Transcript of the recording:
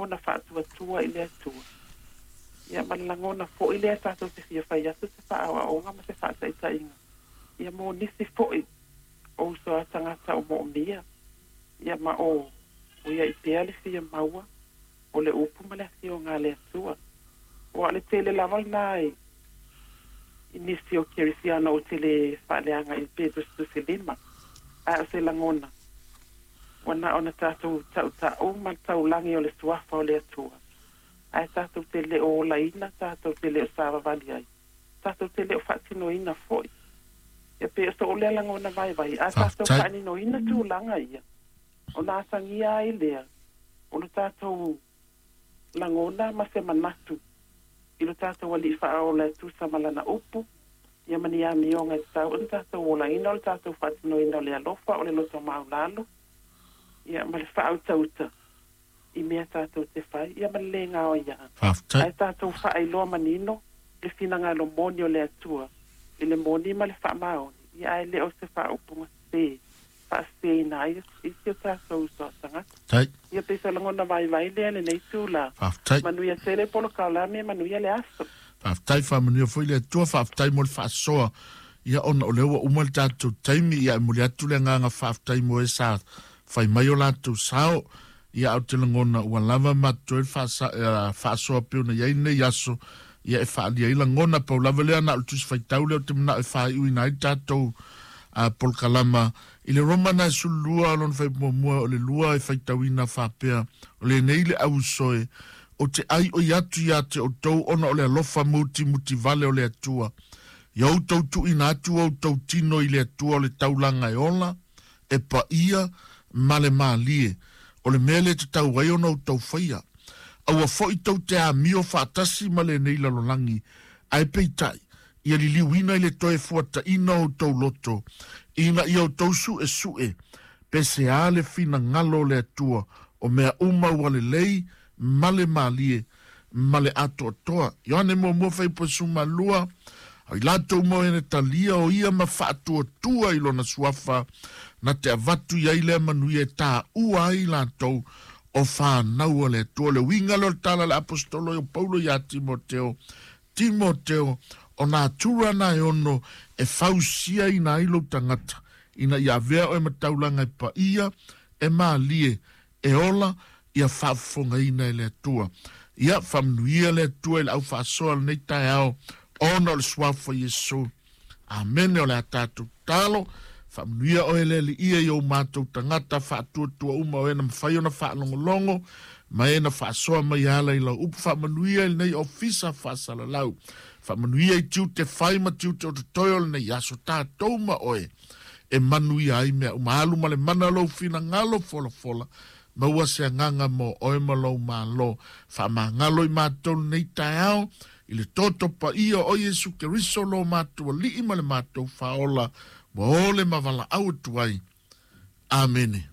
lagona faatuatua i le Atua. Ia ma le lagona foi lea tatou te fia fai atu se faaoaoga ma se faataitaiga. Ia mo nisi foi o uso a tagata o moomia. Ia ma o o iai pea le fia maua o le upu ma le afioga a le Atua. Ua o le tele lava lena i nisi o kerisiano ou te le faaleaga i pe tusitusilima. Ae o se lagona ua na ona tatou tautau ma le taulagi o le suafa o le Atua. Ae tatou te le o olaina, tatou te le o savavali ai, tatou te le o faatinoina foi. Ia pe o sou lea lagona vaivai, a tatou faaninoina tulaga ia, ona atagia ai lea o le tatou lagona ma se manatu i lo tatou alii faaola e tusa ma lana upu, ia ma ni amioga e tatau ona tatou olaina o le tatou faatinoina o le alofa o le loto maulalo, ia ma le faautauta i mea tatou te fai, ia ma le le gaoia. Faafetai. Ae tatou faailoa manino le finagalo moni o le Atua i le moni ma le faamaoni, ia ae le o se faaupuga sese faaseseina ai isi o tatou uso a tagata. Tai. Ia pe se lagona vaivai lea lenei tula. Faafetai. Manuia tele polokalame, manuia le aso. Faafetai, faamanuia foi le Atua, faafetai mo le faasoa. Ia ona o lea ua uma le tatou taimi, ia e momoli atu le agaga faafetai mo e sa fai mai o latou sao. Ia ae ou te lagona ua lava ma totoe le faasoa pei ona i ai lenei aso, ia e faaalia ai lagona. Pau lava lea na o le tusi faitau lea ou te manao e faaiuina ai le tatou polokalama. I le Roma na e 12 lona fuaiupu muamua o le 2 e faitauina faapea, O lenei le ausoe, ou te aioi atu ia te outou ona o le alofa mutimuti vale o le Atua. Ia outou tuuina atu outou tino i le Atua o le taulaga e ola, e paia, ma le malie. O le mea lea e tatau ai ona outou faia. Aua foi tou te amio faatasi ma lenei lalolagi, ae peitai, ia liliuina i le toe fuataina o outou loto, ina ia outou suesue, pe se a le finagalo o le Atua, o mea uma ua lelei ma le malie ma le atoatoa. Ioane muamua fuaiupu 12, o i latou uma o e talia o ia ma faatuatua i lona suafa, na te avatu i ai lea manuia e taua ai latou o whānau a le Atua. Le uiga lea o le tala a le aposetolo o Paulo ia Timoteo, Timoteo, o nā tura na e ono e fausia ina ai lou tagata, ina ia avea oe ma taulaga e paia, e malie, e ola, ia faafofogaina e le Atua. Ia faamanuia le Atua i le aufaasoa o lenei taeao, ona o le suafa o Iesu. Amene. O le a tatou tatalo. Faamanuia oe le Alii i ou matou tagata faatuatua uma o e na mafai ona faalogologo ma e na faasoa mai ala i lau upu. Faamanuia i lenei ofisa faasalalau. Faamanuia i tiute fai ma tiute o totoe o lenei aso, tatou ma oe e manuia ai mea uma. Alu ma le mana o lou finagalo folafola, maua se agaga mo oe ma lou malo. Faamagalo i matou lenei taeao i le toto paia o Iesu Keriso lo matou Alii ma le matou Faaola, ua ole ma valaau atu ai. Amene.